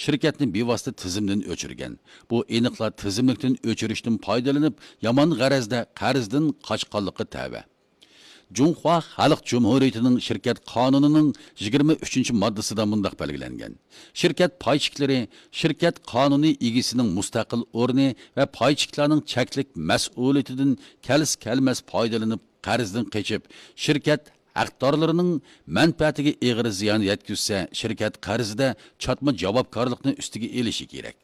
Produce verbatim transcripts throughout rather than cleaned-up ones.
شىركەتنى بىۋاسىتە تىزىمدىن ئۆچۈرگەن. بۇ ئېنىقلا تىزىملىكتىن ئۆچۈرۈشتىن پايدىلىنىپ، يامان غەرەزدە قەرزدىن قاچقانلىققا تەۋە. جۇڭخۇا خەلق جۇمھۇرىيىتىنىڭ شىركەت قانۇنىنىڭ يىگىرمە ئۈچىنچى ماددىسىدا مۇنداق بەلگىلەنگەن: شىركەت پاي چېكلىرى شىركەت قانۇنىي ئىگىسىنىڭ مۇستەقىل ئورنى ۋە پاي چېكلارنىڭ چەكلىك مەسئۇلىيىتىدىن كەلسە كەلمەس پايدىلىنىپ، قەرزدىن قېچىپ، شىركەت ھەقدارلىرىنىڭ مەنپەئەتىگە ئېغىر زىيان يەتكۈزسە، شىركەت قەرزىدە چاتما جاۋابكارلىقنى ئۈستىگە ئېلىشى كېرەك.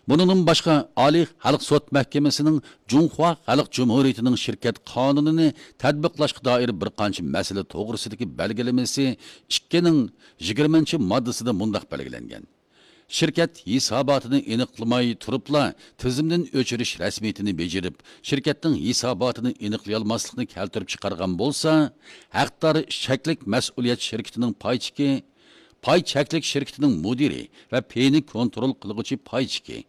بۇنىڭدىن باشقا، ئالىي خەلق سوت مەھكىمىسىنىڭ جۇڭخۇا خەلق جۇمھۇرىيىتىنىڭ شىركەت قانۇنىنى تەتبىقلاشقا دائىر بىر قانچە مەسىلە توغرىسىدىكى بەلگىلىمىسى ئىككىنىڭ يىگىرمىنچى ماددىسىدا مۇنداق بەلگىلەنگەن: شىركەت ھېساباتىنى ئېنىقلىماي تۇرۇپلا تىزىمدىن ئۆچۈرۈش رەسمىيىتىنى بېجىرىپ، شىركەتنىڭ ھېساباتىنى ئېنىقلىيالماسلىقنى كەلتۈرۈپ چىقارغان بولسا، ھەقدار چەكلىك مەسئۇلىيەت شىركىتىنىڭ پاي چېكى، پاي چەكلىك شىركىتىنىڭ مۇدىرى ۋە پېيىنى كونترول قىلغۇچى پاي چېكى،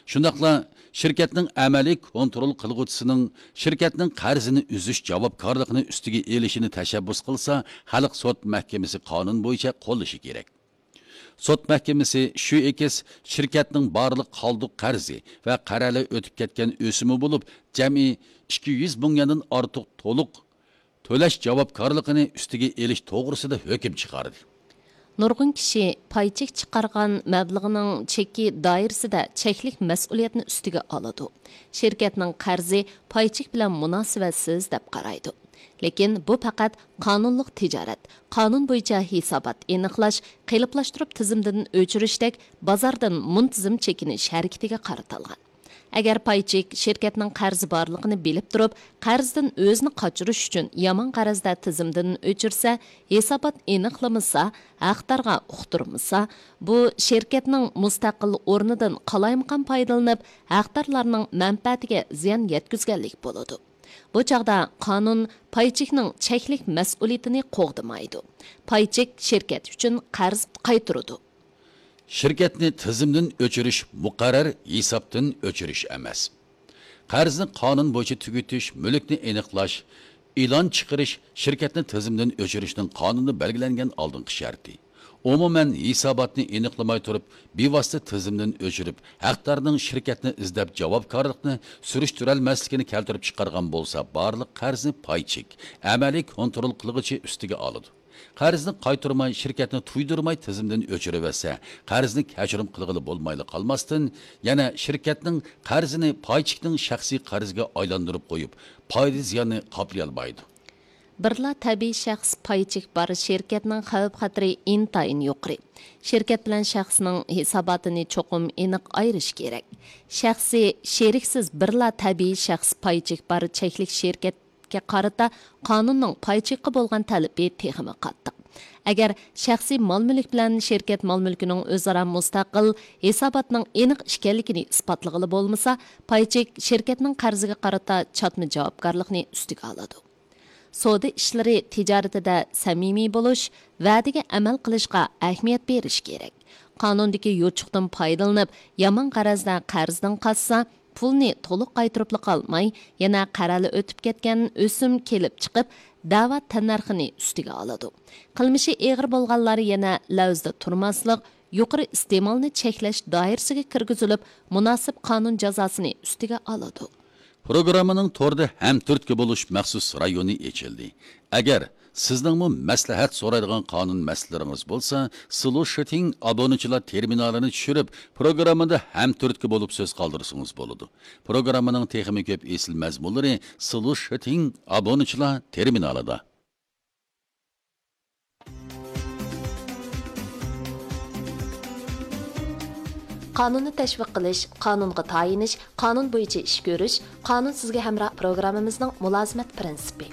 شۇنداقلا شىركەتنىڭ ئەمەلىي كونترول قىلغۇچىسىنىڭ شىركەتنىڭ قەرزىنى ئۈزۈش جاۋابكارلىقىنى ئۈستىگە ئېلىشىنى تەشەببۇس قىلسا، خەلق سوت مەھكىمىسى قانۇن بويىچە قوللىشى كېرەك. سوت مەھكىمىسى شۈ ئېكس شىركەتنىڭ بارلىق قالدۇق قەرزى ۋە قەرەلى ئۆتۈپ كەتكەن ئۆسۈمى بولۇپ، جەمئىي ئىككى يۈز مىڭ يۈەندىن ئارتۇق تولۇق تۆلەش جاۋابكارلىقىنى ئۈستىگە ئېلىش توغرىسىدا ھۆكۈم چىقاردى. نۇرغۇن كىشى پاي چېك چىقارغان مەبلىغىنىڭ چېكى دائىرىسىدە چەكلىك مەسئۇلىيەتنى ئۈستىگە ئالىدۇ. شىركەتنىڭ قەرزى پاي چېك بىلەن مۇناسىۋەتسىز دەپ قارايدۇ. لېكىن بۇ پەقەت قانۇنلۇق تىجارەت، قانۇن بويىچە ھېسابات ئېنىقلاش، قېلىپلاشتۇرۇپ تىزىمدىن ئۆچۈرۈشتەك بازاردىن مۇنتىزىم چېكىنىش ھەرىكىتىگە قارىتىلغان. ئەگەر پاي چېك شىركەتنىڭ قەرزى بارلىقىنى بىلىپ تۇرۇپ، قەرزدىن ئۆزىنى قاچۇرۇش ئۈچۈن يامان غەرەزدە تىزىمدىن ئۆچۈرسە، ھېسابات ئېنىقلىمىسا، ھەقدارغا ئۇقتۇرمىسا، بۇ شىركەتنىڭ مۇستەقىل ئورنىدىن قالايمىقان پايدىلىنىپ، ھەقدارلارنىڭ مەنپەئەتىگە زىيان يەتكۈزگەنلىك بولىدۇ. بۇ چاغدا قانۇن پاي چېكنىڭ چەكلىك مەسئۇلىيىتىنى قوغدىمايدۇ. پاي چېك شىركەت ئۈچۈن قەرز قايتۇرىدۇ. شىركەتنى تىزىمدىن ئۆچۈرۈش مۇقەررەر ھېسابتىن ئۆچۈرۈش ئەمەس. قەرزنى قانۇن بويىچە تۈگىتىش، مۈلۈكنى ئېنىقلاش، ئېلان چىقىرىش شىركەتنى تىزىمدىن ئۆچۈرۈشنىڭ قانۇندا بەلگىلەنگەن ئالدىنقى شەرتى. ئومۇمەن، ھېساباتنى ئېنىقلىماي تۇرۇپ، بىۋاسىتە تىزىمدىن ئۆچۈرۈپ، ھەقدارنىڭ شىركەتنى ئىزدەپ جاۋابكارلىقنى سۈرۈشتۈرەلمەسلىكىنى كەلتۈرۈپ چىقارغان بولسا، بارلىق قەرزنى پاي چېك، ئەمەلىي كونترول قىلغۇچى ئۈستىگە ئالىدۇ. قەرزنى قايتۇرماي، شىركەتنى تۇيدۇرماي تىزىمدىن ئۆچۈرۈۋەتسە، قەرزنى كەچۈرۈم قىلغىلى بولمايلا قالماستىن، يەنە شىركەتنىڭ قەرزىنى پاي چېكنىڭ شەخسىي قەرزىگە ئايلاندۇرۇپ قويۇپ، پايدا زىياننى قاپلىيالمايدۇ. بىرلا تەبىئىي شەخس پاي چېكى بار شىركەتنىڭ خەۋپ خەتىرى ئىنتايىن يۇقىرى. شىركەت بىلەن شەخسنىڭ ھېساباتىنى چوقۇم ئېنىق ئايرىش كېرەك. شەخسىي، شېرىكسىز بىرلا تەبىئىي شەخس پاي چېكى بار چەكلىك شىركەتكە قارىتا قانۇننىڭ پاي چېكىگە بولغان تەلىپى تېخىمۇ قاتتىق. ئەگەر شەخسىي مال-مۈلۈك بىلەن شىركەت مال-مۈلكىنىڭ ئۆزئارا مۇستەقىل ھېساباتنىڭ ئېنىق ئىكەنلىكىنى ئىسپاتلىغىلى بولمىسا، پاي چېك شىركەتنىڭ قەرزىگە قارىتا چاتما جاۋابكارلىقنى ئۈستىگە ئالىدۇ. سودا ئىشلىرى تىجارىتىدە سەمىمىي بولۇش، ۋەدىگە ئەمەل قىلىشقا ئەھمىيەت بېرىش كېرەك. قانۇندىكى يوچۇقتىن پايدىلىنىپ، يامان غەرەزدە قەرزدىن قاچسا، پۇلنى تولۇق قايتۇرۇپلا قالماي، يەنە قەرەلى ئۆتۈپ كەتكەن ئۆسۈم كېلىپ چىقىپ، دەۋا تەننەرخىنى ئۈستىگە ئالىدۇ. قىلمىشى ئېغىر بولغانلار يەنە لەۋزىدە تۇرماسلىق، يۇقىرى ئىستېمالنى چەكلەش دائىرىسىگە كىرگۈزۈلۈپ، مۇناسىپ قانۇن جازاسىنى ئۈستىگە ئالىدۇ. پروگراممىنىڭ توردا ھەمتۈرتكە بولۇش مەخسۇس رايونى ئېچىلدى. ئەگەر سىزنىڭمۇ مەسلىھەت سورايدىغان قانۇن مەسىلىلىرىڭىز بولسا، سلۇشىتىڭ ئابۇنىچىلار تېرمىنالىنى چۈشۈرۈپ، پروگراممىدا ھەمتۈرتكە بولۇپ سۆز قالدۇرسىڭىز بولىدۇ. پروگراممىنىڭ تېخىمۇ كۆپ ئېسىل مەزمۇنلىرى سلۇشىتىڭ ئابۇنىچىلار تېرمىنالىدا. قانۇننى تەشۋىق قىلىش، قانۇنغا تايىنىش، قانۇن بويىچە ئىش كۆرۈش، قانۇن سىزگە ھەمراھ پروگراممىمىزنىڭ مۇلازىمەت پىرىنسىپى.